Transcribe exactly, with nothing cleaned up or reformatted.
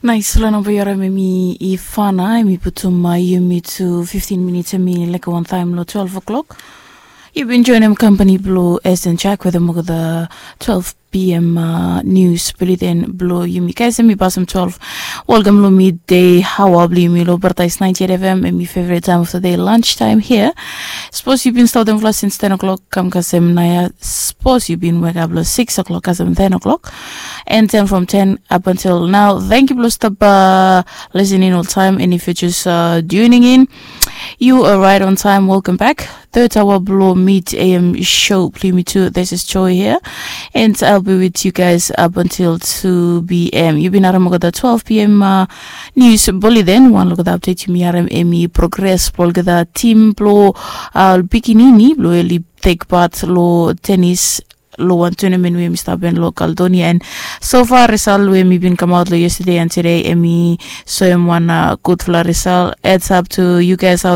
Nais long namba yu harim em i fana, em i putum yumi tu fiftin minits em i leke wantaim long twelve o'clock. Yu bin joinim kampani blong Esten Jack wetem olgeta twelve p.m. Nius biliden blong yumi, guys, em i pasim twelve. Welkam long midei hawa blong yumi long Paradise ninety-eight F M, em i favorite time of the day, lunch time here. Sapos yu bin stap wetem flas since ten o'clock kam kasem naoia, sapos yu bin wekap long six o'clock kasem ten o'clock, and ten from ten up until now. Thank you blong stap listening oltaim, and if you just tuning in, you are right on time. Welcome back. Third hour blong mid a.m. show blong yumi tu. This is Joy here, and I'll be with you guys up until two p.m. Yu bin harim olgeta twelve p.m. Nius biliden. Wan long olgeta update yumi harim em i progress blong olgeta tim blong pikinini blong oli tek pat long tenis long wan tournament we em i stap hapen long Caledonia, and so far result we em i bin kamaot long yesterday and today em i soem wan gudfala result. Heads up to you guys out